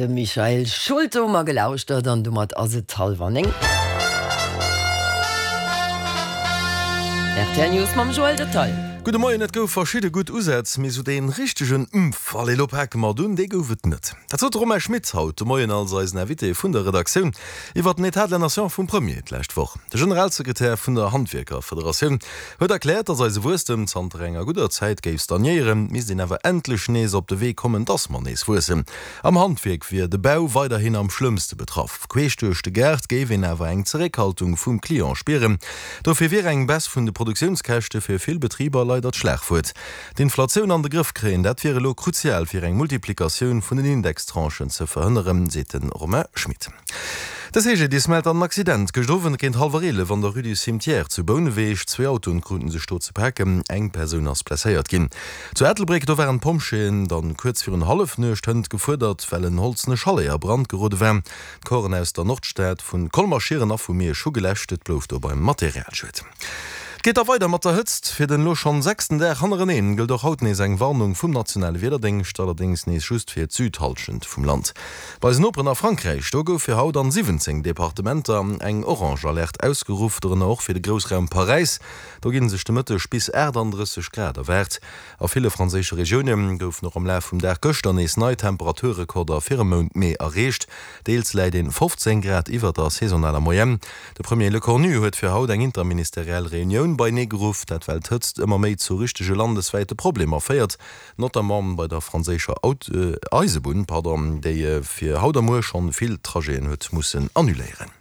De Michael Schulte hu mer gelauschtert an domat ass et hallwer 9. Rtl News mam Joël Detail. Gudde Moien, Et gouf verschidde gutt Usätz, mee sou dee richtegen Mpf, allez lo pake mer et un, dee gouf et net. Dat sot de Romain Schmit haut de Moien als eisen Invité vun der Redaktioun iwwer den Etat de la Nation vum Premier d'lescht Woch. De Generalsekretär vun der Handwierkerfederatioun huet erkläert, datt eise Wuesstem zanter enger gudder Zäit géif stagnéieren, misst een awer endlech nees op de Wee kommen, datt mer nees wuessen. Am Handwierk wier de Bau weiderhin am schlëmmste betraff. Queesch duerch de Gaart géif een awer eng Zeréckhaltung vum Client spieren. Dofir wier eng Baisse vun de Produktiounskäschte fir vill Betriber leider d'Schlagwuert. D'Inflatioun an de Grëff kréien, dat wier elo kruzial fir eng Multiplikatioun vun den Indextranchen ze verhënneren, seet de Romain Schmit. De CGDIS mellt an Accident gëscht Owend géint hallwer 11 an der Rue du Cimetière zu Bouneweg. Zwee Autoen kruten sech do ze paken, eng Persoun ass blesséiert ginn. Zu Ettelbréck, do waren d'Pompjeeën dann kuerz virun Hallefnuecht hënt gefuerdert, well en holzene Chalet a Brand gerode war. D'Corpsen aus der Nordstad, vu Colmer, Schieren a vu Miersch hu geläscht. Et blouf do beim Materialschued. Et geet da weider mat der Hëtzt. Fir den elo schonn sechsten Dag hannereneen gëllt och haut nees eng Warnung vum nationale Wiederdéngscht, allerdéngs nees just fir d'Südhallschent vum Land. Bei eisen Noperen a Frankräich, do gouf fir haut an 17 Departementer eng orange Alerte ausgeruff, dorënner och fir de Groussraum Paräis. Do ginn sech de Mëtteg bis 38 Grad erwaart. A ville franséische Regioune goufen och am Laf vum Dag gëschter nees nei Temperaturrekorder fir e Mount Mee erreecht. Deels läit een 15 Grad iwwer der saisonaler Moyenne. De Premier Lecornu huet fir haut eng interministeriell Reunioun beinee geruff, dat well d'Hëtzt ëmmer méi zu richtege landeswäite Problemer féiert, notamment bei der franséischer Eisebunn, déi fir haut a muer schonn vill Trajeten huet mussen annuléieren.